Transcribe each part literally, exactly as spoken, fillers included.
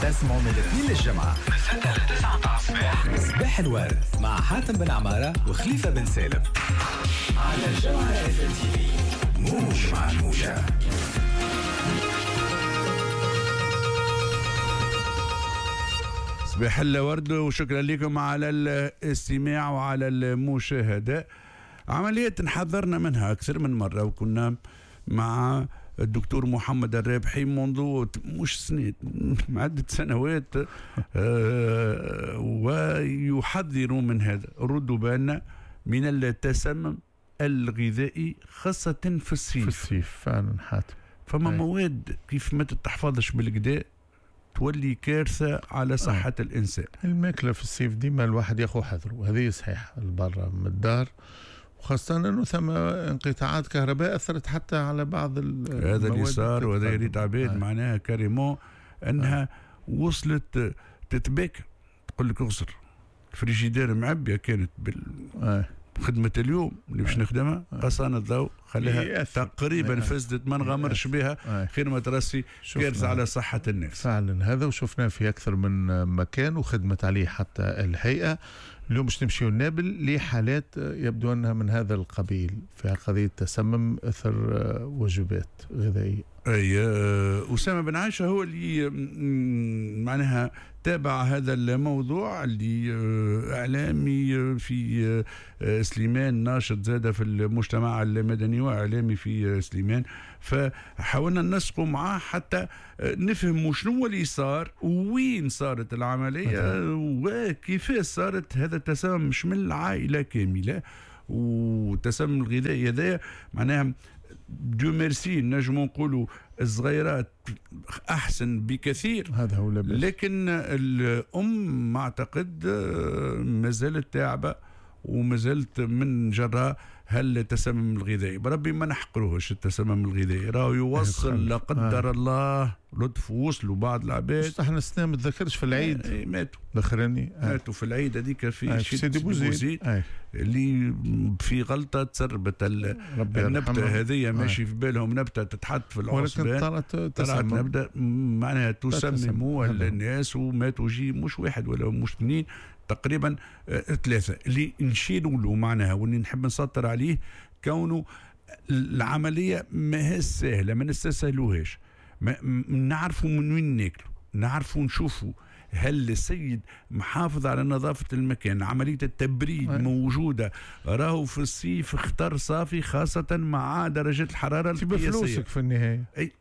تسمعوا من الاثنين للجمعة من ستة ل تسعة متاع الصباح. صباح الورد مع حاتم بن عمارة وخليفة بن سالم على الجوهرة اف ام تي في، موج مع الموجة. صباح الورد وشكرا لكم على الاستماع وعلى المشاهدة. عملية حذرنا منها أكثر من مرة، وكنا مع الدكتور محمد الرابحي منذ مش سنة، عدة سنوات، آه ويحذر من هذا. ردوا بالنا من التسمم الغذائي خاصة في الصيف. في الصيف فعلا حاتم، فما مواد كيف ما تتحفظش بالكدا تولي كارثة على صحة آه. الإنسان. الماكلة في الصيف ديما الواحد ياخذ حذره، وهذه صحيحة البرة من الدار، وخاصة أنه ثم انقطاعات كهرباء أثرت حتى على بعض هذا اللي صار، وهذا اللي عباد آه. معناها carrément أنها آه. وصلت تتباك، تقول لك اغسر الفريجيدير معبية كانت بال آه. خدمة اليوم اللي باش نخدمها قصان الضوء خليها تقريبا فسدت، ما نغامرش بها خير ما ترسي كارثة على صحة الناس. فعلا هذا وشفناه في أكثر من مكان وخدمت عليه حتى الهيئة. اليوم باش نمشيو لنابل لحالات يبدو أنها من هذا القبيل في قضية تسمم أثر وجبات غذائية. أي أسامة بن عائشة هو اللي معناها تابع هذا الموضوع، اللي إعلامي في سليمان، ناشط زاد في المجتمع المدني وإعلامي في سليمان، فحاولنا ننسقوا معاه حتى نفهموا شنو اللي صار وين صارت العملية وكيف صارت هذا التسمم، مش من العائلة كاملة. والتسمم الغذائي هذا معناها Dieu merci نجمو نقولوا الصغيرات احسن بكثير، هذا هو لاباس، لكن الام ما اعتقد ما زالت تعبه وما زالت من جراء هل التسمم الغذائي. بربي ما نحقروهش التسمم الغذائي، راهو يوصل لا قدر آه. الله لطف، وصلوا بعض العباد. احنا السنة ما تذكرش في العيد آه ماتوا الاخراني آه. ماتوا في العيد هذيك في آه. سيدي بوزيد آه. اللي في غلطه تسربت النبتة هذه، ماشي آه. في بالهم نبته تتحط في العصبان، ولكن طلعت طلعت نبته معناها تسمموا الناس وماتوا، جي مش واحد ولا مش اثنين، تقريبا ثلاثة. اللي نشيروا له معناها واللي نحب نسطر عليه كونه العملية ما هي سهلة، ما نستسهلوهاش، نعرفوا من وين ناكلوا، نعرفوا نشوفوا هل السيد محافظ على نظافة المكان، عملية التبريد موجودة. راهو في الصيف اختار صافي خاصة مع درجة الحرارة القياسية. بفلوسك في النهاية أي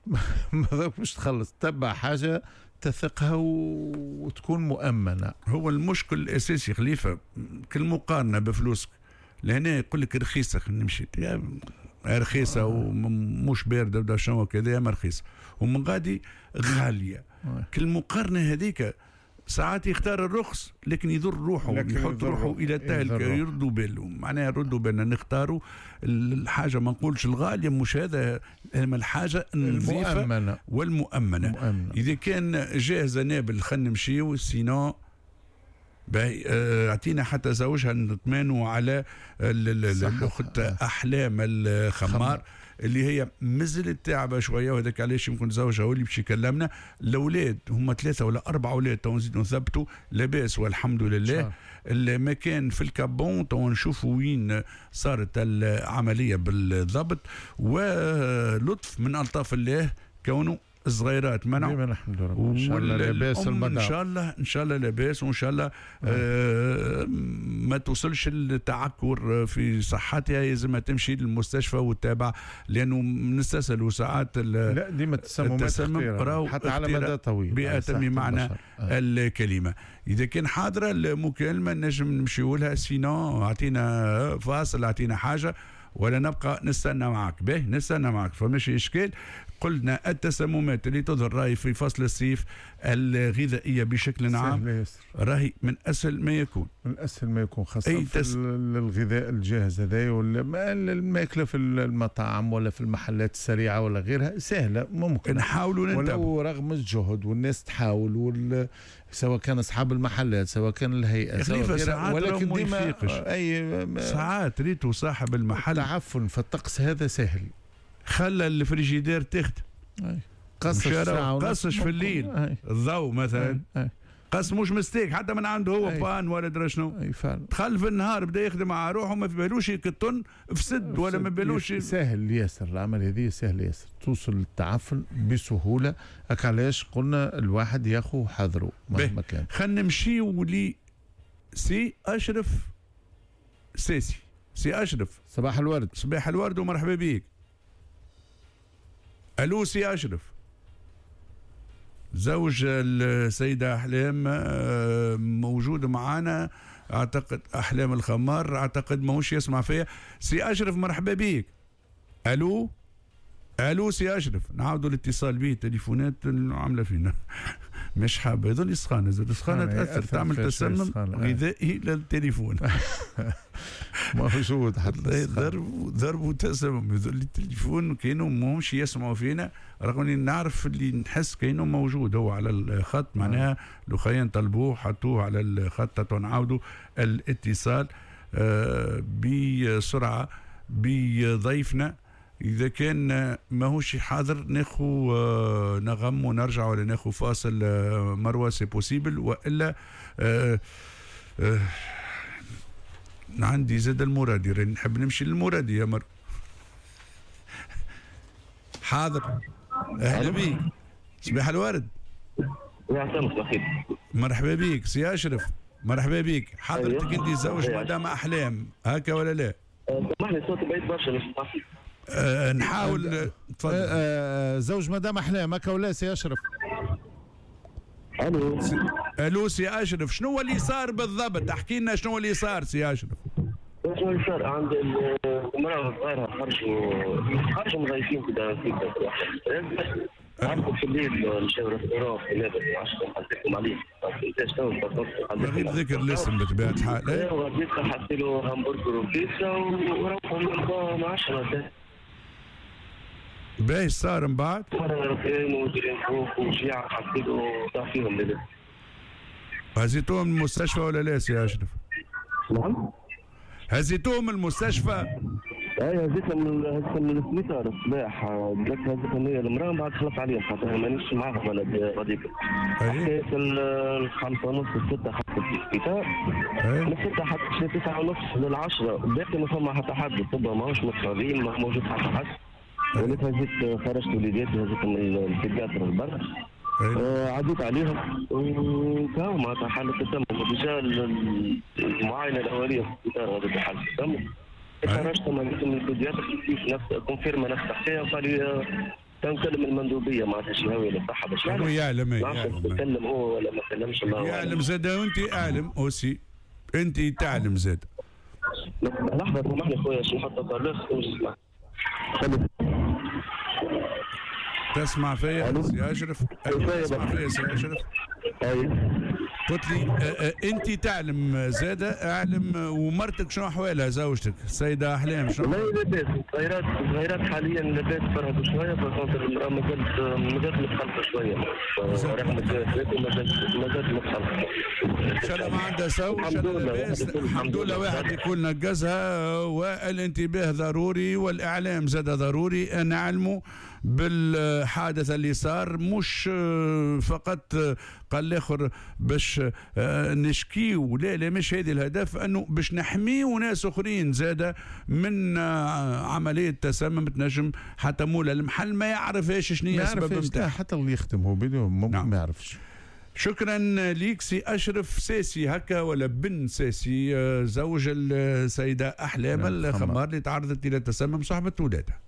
مش تخلص، تبع حاجة تثقها وتكون مؤمنة. هو المشكل الأساسي خليفة كل مقارنة بفلوسك، لهنا يقول لك رخيصة نمشي رخيصة ومش باردة ولا شنو كذا، ما رخيصة، ومن غادي غالية. كل مقارنة هذيك ساعات يختار الرخص لكن يضر روحه، يحط روحه الى التهلكة. يردوا بالهم معناها، ردوا بالنا نختاروا الحاجة، ما نقولش الغالية مش هذا، الحاجة النظيفة المؤمنة والمؤمنة. المؤمنة. اذا كان جاهزة نابل خلينا نمشيو، sinon باهي اعطينا حتى زوجها نطمنوا على الاخت احلام الخمار اللي هي مازالت تعبه شوية، وهذاك علاش يمكن زوجها هو اللي باش يكلمنا. الاولاد هما ثلاثة ولا اربعة اولاد تو نزيدوا نثبتوا لاباس والحمد لله. المكان في الكابون تو نشوفوا وين صارت العملية بالضبط، ولطف من الطاف الله كونه الصغيرات منعوا. الحمد لله ان شاء الله لاباس، ان شاء الله ان شاء الله لاباس، وان شاء الله آه ما توصلش التعكر في صحتها، لازم تمشي للمستشفى وتتابع، لانه نستسهلوا ساعات. لا ديما التسممات حتى على مدى طويل بأتم معنى آه. الكلمة. اذا كان حاضره المكالمة نجم نمشيو لها، sinon اعطينا فاصل، اعطينا حاجة، ولا نبقى نستنى معك. به نستنى معك فماشي اشكال. قلنا التسممات اللي تظهر راهي في فصل الصيف الغذائية بشكل عام راهي من اسهل ما يكون، من اسهل ما يكون، خاصة في تس... الغذاء الجاهز هذا، ولا الماكلة في المطاعم ولا في المحلات السريعة ولا غيرها سهلة ممكن نحاولوا ننتبه، ولو رغم الجهد والناس تحاول وال... سواء كان اصحاب المحلات سواء كان الهيئة سواء ساعات ولكن ديما اي ساعات ريتو صاحب المحل التعفن في الطقس هذا سهل، خلى الفريجيدير تخدم قصش في الليل الضوء مثلا، قص مش mistake حتى من عنده هو panne ولا درا شنو، دخل في النهار بدا يخدم على روحه ما في بالوش الطن فسد ولا ما بالوش. سهل ياسر العمل هذه، سهل ياسر توصل للتعفن بسهولة. هكا علاش قلنا الواحد ياخو حذره مهما كان. خلينا نمشيو لي سي اشرف ساسي. سي اشرف صباح الورد. صباح الورد ومرحبا بيك. الو سي اشرف، زوج السيدة أحلام موجود معانا، أعتقد أحلام الخمار، أعتقد ماهوش يسمع فيا. سي أشرف مرحبا بيك. ألو ألو سي أشرف، نعاودوا الاتصال به، تليفونات عاملة فينا مش حابة، هذول السخانة زاد السخانة تأثر، تعمل تسمم غذائي للتليفون. موجود حتى ضرب ضرب وتسمم، هذول التليفون كانوا ماهمش يسمعوا فينا، رغم اني نعرف اللي نحس كانه موجود هو على الخط، معناها لو خيان طلبوه حطوه على الخط نعاودوا الاتصال بسرعة بضيفنا. إذا كان ماهوش حاضر ناخو نغم ونرجع، ولا ناخو فاصل مروة c'est possible، وإلا آه آه عندي زاد المرادي، راني نحب نمشي للمرادي يا مروة. حاضر، أهلا بيك، صباح الورد. مرحبا بيك سي أشرف، مرحبا بيك. حضرتك أنت زوج مدام أحلام هكا ولا لا؟ سامحني صوتي بعيد برشا مش سامحني. أه نحاول. تفضل. أه زوج مدام احلام هكا ولا سي اشرف؟ الو الو سي اشرف، شنو اللي صار بالضبط؟ احكي لنا شنو اللي صار سي اشرف. شنو اللي صار؟ عند المراة صغارها خرجوا خرجوا مغيفين كده عرفوا في الليل مشاو restaurant في نابل، حطيتهم عليه من غير ذكر الاسم بطبيعة الحال. ايوا غاديك حطيت له همبرجر وبيتزا وروحوا من عشرة. باهي صار من بعد؟ هزيتوهم من المستشفى ولا لا سي اشرف؟ نعم؟ هزيتوهم من المستشفى؟ اي هزيتهم من هزيتهم من السبيطار الصباح، قلت هزيتهم هي المراة من بعد خلص عليهم خاطر مانيش معاهم انا غاديك. حكاية الخمسة ونص الستة حتى في السبيطار، من الستة حتى تسعة ونص للعشرة باقي ما فما حتى حد، الطب ماهوش متفاضيين، ما موجود حتى حد. وليت هزيت خرجت وليداتي هزيتهم ال pédiatre لبرا، آه عديت عليهم وكاو معناتها حالة التسمم، déjà المعاينة الأولية في السبيطار هذيك حالة التسمم. خرجتهم هزيتهم لل pédiatre كيف نفس confirma نفس الحكاية، وقال لي تنكلم المندوبية معناتها الجهوية للصحة باش يعلم. هو يعلم، يعلم كلم هو ولا ما كلمش الله يعلم زاد، وأنت أعلم aussi، أنت تعلم زاد. لحظة سامحني خويا باش نحط haut-parleur ونسمع. تسمع فيا سي اشرف؟ تسمع فيا سي اشرف؟ ايوه. قلت لي انت تعلم زاده، اعلم. ومرتك شنو احوالها زوجتك السيدة احلام شنو؟ والله لاباس، صغيرات صغيرات حاليا لاباس، فرهدوا شوية، par contre المراة مازالت مازالت متخلفة شوية، مازالت مازالت متخلفة. ان شاء الله ما عندها سو، ان شاء الله لاباس، الحمد لله. واحد يكون نقزها، والانتباه ضروري والاعلام زاد ضروري، نعلموا بالحادث اللي صار، مش فقط قال الاخر باش نشكيو، لا لا مش هذه الهدف، انه باش نحميو ناس اخرين زاده من عملية تسمم تنجم حتى مولا المحل ما يعرفهاش شنو هي السبب نتاعها، حتى اللي يخدم هو بيدو ممكن نعم. ما يعرفش. شكرا ليك سي اشرف ساسي هكا ولا بن ساسي، زوج السيدة احلام الخمار اللي تعرضت الى تسمم صاحبه ولادها.